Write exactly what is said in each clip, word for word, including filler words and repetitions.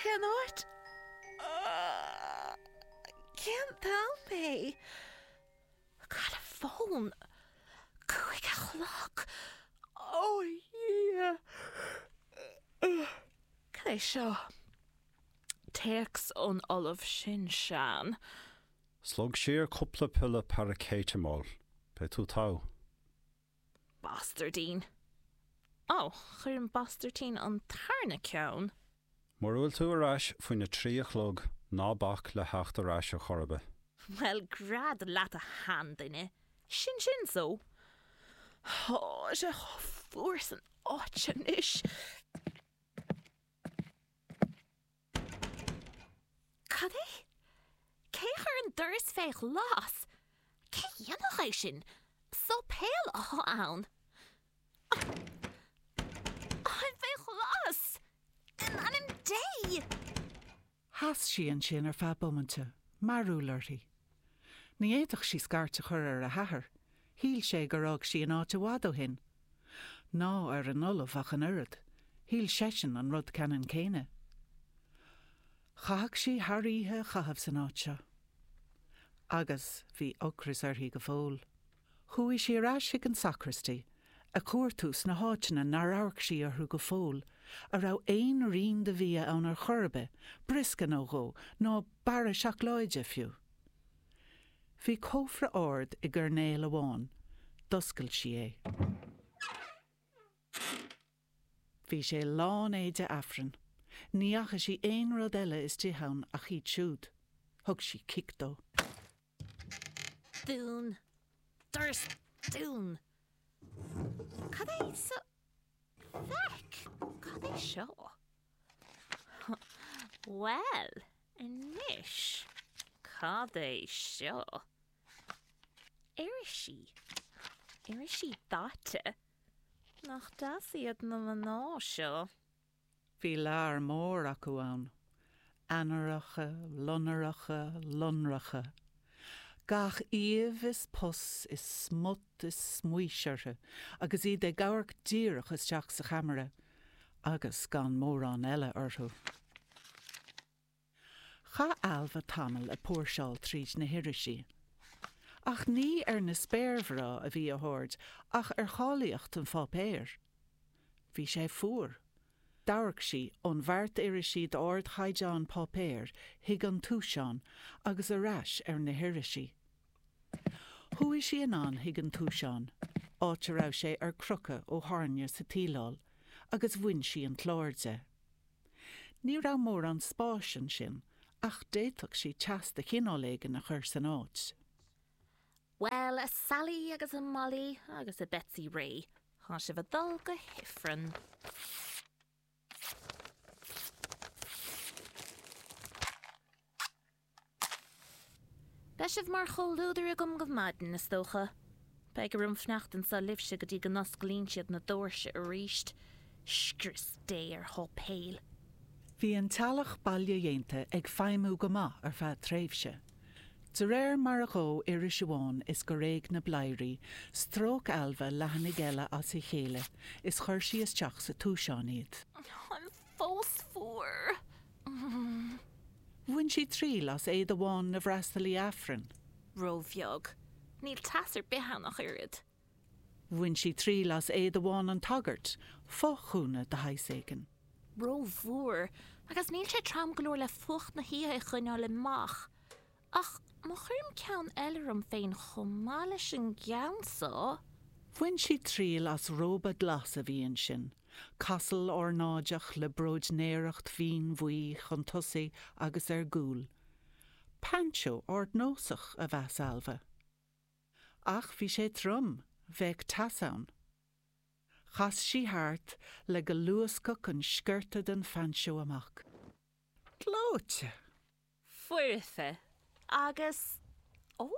Cén áit? Cén t-am é? Cad a fón? Cúig a chlog! Ó a Dhia! Cad é seo? Téacs ón Ollamh sin sean. Slog siar cúpla piolla paraicéiteamóil. Beidh tú togha. Bastairdín. Ó, chuir an bastairtín an tarna ceann. Mura bhfuil tú ar ais faoina trí a chlog, ná bac le theacht ar ais ar chor ar bith. Bhuel, gread leat a sheanduine. Sin sin so. Tá sé chomh fuar san áit anois. Cad é? Cé a chuir an doras fé ghlas? Cé a dhéanfadh é sin? Sáipéal atá ann. Táim fé ghlas! In ainm Dé! Sheas sí ansin ar feadh bomainte, mearúil uirthi. Ní fhéadfadh sí scairt a chur ar a hathair, shíl sé gur fhág sí an áit i bhfad ó shin. Ná ar an Ollamh ach an oiread, shíl seisean an rud ceannann céanna. Chaithfeadh sí thar oíche a chaitheamh san áit seo. Agus bhí ocras uirthi go fóill. Chuaigh sí ar ais chuig an sacristy, ag cuartú sna háiteanna nár amharc sí orthu go fóill, a raibh aon rian de bhia ann ar chor ar bith, briosca nó dhó, nó barra seacláide, fiú. Bhí cófra ard i gcoirnéal amháin. D'oscail sí é. Bhí sé lán éide Aifrinn. Ní fhaca sí aon rud eile istigh ann ach iad siúd. Thug sí cic dó. Dún. Doras dún. Cad é seo? Feck! Cad é seo? Bhuel, anois, cad é seo? Irisí. Irisí daite. Nach deas iad na mná seo? Bhí lear mór acu ann. Ainnireacha, lonracha, lonracha. Gach aoibh is pus is smut is smaois orthu agus iad ag amharc díreach isteach sa cheamara, agus gan mórán eile orthu. Chaith Ailbhe tamall ag póirseáil tríd na hirisí. Ach ní ar na spéirmhná a bhí a haird ach ar cháilíocht an pháipéir. Bhí sé fuar. D'amharc sí ón bheart irisí d'ardchaighdeán páipéir chuig an túiseán agus ar ais ar na hirisí. Chuaigh sí anonn chuig an túiseán, áit a raibh sé ar crochadh ó thairne sa tsíleáil, agus bhain sí an clár de. Ní raibh mórán spáis ansin ach d'fhéadfadh sí teas de chineál éigin a chur san áit. Bhuel, a Sally agus a Molly agus a Betsy Ray, tá sibh ag dul go hIfreann. Beidh sibh mar chomhluadar agam go maidin, is dócha. Beidh orm fanacht anseo libhse go dtí go n-osclaíonn siad na doirse arís. Scrios Dé ar sháipéil! Bhí an teallach bailedhéanta ag feidhmiú go maith ar feadh tréimhse. De réir mar a dhódh iris amháin is gur éag na bladhairí, stróic Ailbhe leathanaigh eile as a chéile is chuir sí isteach sa túiseán iad. Táim fós fuar. Bhain sí triail as éide bhán na bhfreastalaí Aifrinn. Róbheag. Níl teas ar bith ann ach oiread. Bhain sí triail as éide bhán an tsagairt, fothghúna de shaghas éigin. Rómhór, agus níl sé trom go leor le fuacht na hoíche a choinneáil amach. Ach má chuirim ceann eile orm féin chomh maith leis an gceann so. Bhain sí triail as róba glas a bhí ansin, casal ornáideach le bróidnéireacht mhín bhuí chun tosaigh agus ar gcúl. Peainseó ardnósach, a mheas Ailbhe. Ach bhí sé trom, bheadh teas ann. Chas sí thart le go luascfadh an sciorta den phainseó amach. Gleoite! Foirfe. Agus, ó,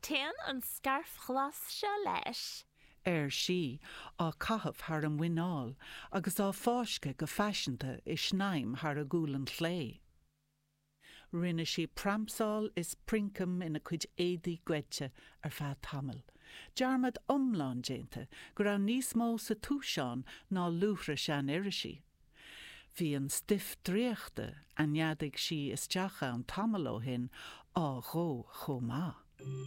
téann an scairf ghlas seo leis! ar sí, á caitheamh thar a muineál agus á fáisceadh go faiseanta i snaidhm thar a gualainn chlé. Rinne sí pramsáil is princeam ina cuid éadaí goidte ar feadh tamaill, dearmad iomlán déanta go raibh níos mó sa túiseán ná luaithre sean-irisí. Bhí an stuif draíochta a neadaigh sí isteach ann tamall ó shin á dhó chomh maith.